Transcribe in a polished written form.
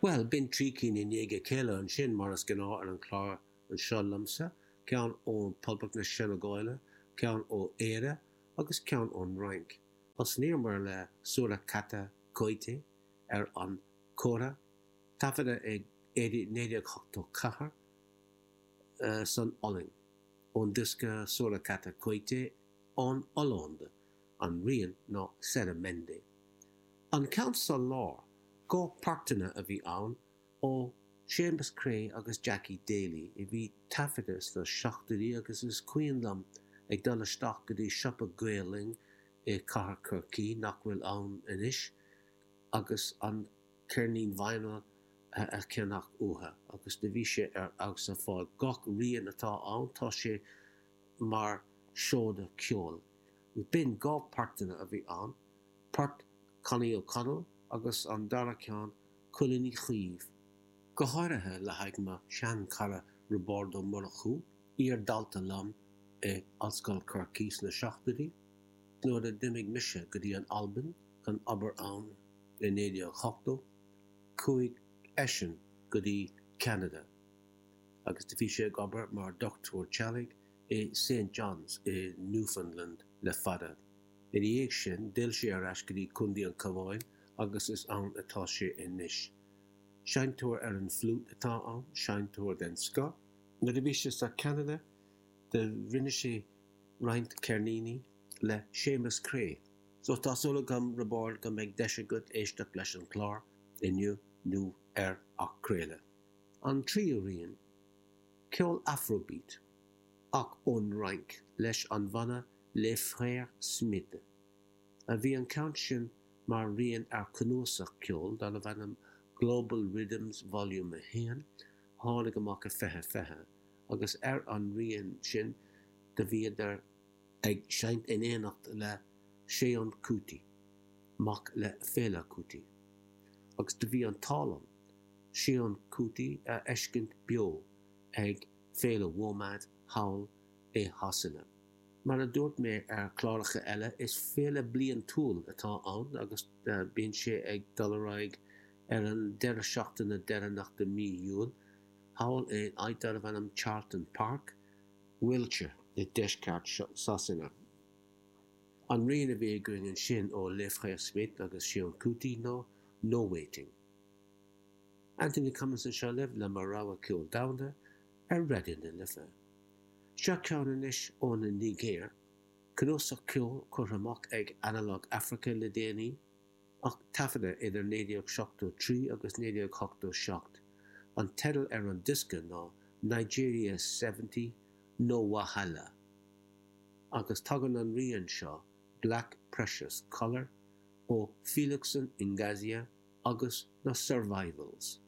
Bhuel, b'in 3 cinn i ndiaidh a chéile ansin, mar is gnáth ar an chlár anseo liomsa, ceann ó Poblacht na Seineagáile, ceann ó Éire agus ceann ón Fhrainc. Thosnaíomar le Sourakata Koité ar an kora, taifeadta i 1984 san Ollainn, ón diosca Sourakata Koité en Hollande, an rian ná Seramende. An ceann sa lár, comhpháirteanna a bhí ann ó Séamus Creagh agus Jackie Daly a bhí taifeadta sna seachtóidí agus is cuimhin liom ag dul isteach go dtí siopa Gael Linn i Cathair Chorcaí, nach bhfuil ann anois, agus an ceirnín vinyl a cheannach uathu agus do bhí sé ar fheabhas ar fad. Gach rian atá ann tá sé mar seoda ceoil. B'in comhpháirteanna a bhí ann, port Connie O'Connell agus an dara ceann Cuileann Uí Chaoimh. Go háirithe le haghaidh mo shean-chara Roibeárd Ó Murchú, iar-dhalta liom i Ollscoil Chorcaí sna seachtóidí, nuair a d'imigh mise go dtí an Albain chun obair ann i 1980, chuaigh eisean go dtí Ceanada agus do bhí sé ag obair mar dhochtúir teaghlaigh i Saint John's i Newfoundland le fada. Ina dhiaidh sin, d'fhill sé ar ais go dtí Contae an Chabháin agus is ann atá sé anois. Seinnteoir ar an bhfliúit atá ann, seinnteoir den scoth. Nuair a bhí sé sa Cheanada do rinne sé roinnt ceirníní le Séamus Creagh. So tá súil agam, Roibeárd, go mbeidh deis agat éisteacht leis an chlár inniu nó ar athchraoladh. An tríú rian, ceol Afrobeat, ach ón Fhrainc, leis an bhanna Les Frères Smith, a bhí an ceann sin mar rian ar chnuasach ceoil darbh ainm Global Riddims Volume 1, a tháinig amach i 2020, agus ar an rian sin do bhíodar ag seinnt in éineacht le Seun Kuti, mac le Fela Kuti, agus do bhí an t-ádh liom Seun Kuti a fheiscint beo ag Féile WOMAD thall i Shasana. Mar a dúirt mé ar chláracha eile, is féile bliantúil atá ann agus bíonn sé ag dul ar aghaidh ar an deireadh seachtaine deireanach de mí Iúil, thall in áit darbh ainm Charlton Park, Wiltshire, i deisceart Shasana. An rian a bhí againn ansin ó Les Frères Smith agus Seun Kuti ná No Waiting. Anthony Cummins anseo libh le mo rogha ceol domhanda ar Raidió na Life. Seo ceann anois ón Nigéir, cnuasach ceoil curtha amach ag Analog Africa le déanaí, ach taifeadta idir 1973 agus 1987. An teideal ar an diosca ná Nigeria 70, No Wahala. Agus tagann an rian seo, Black Precious Colour, ó Felixson Ingazia agus na Survivals.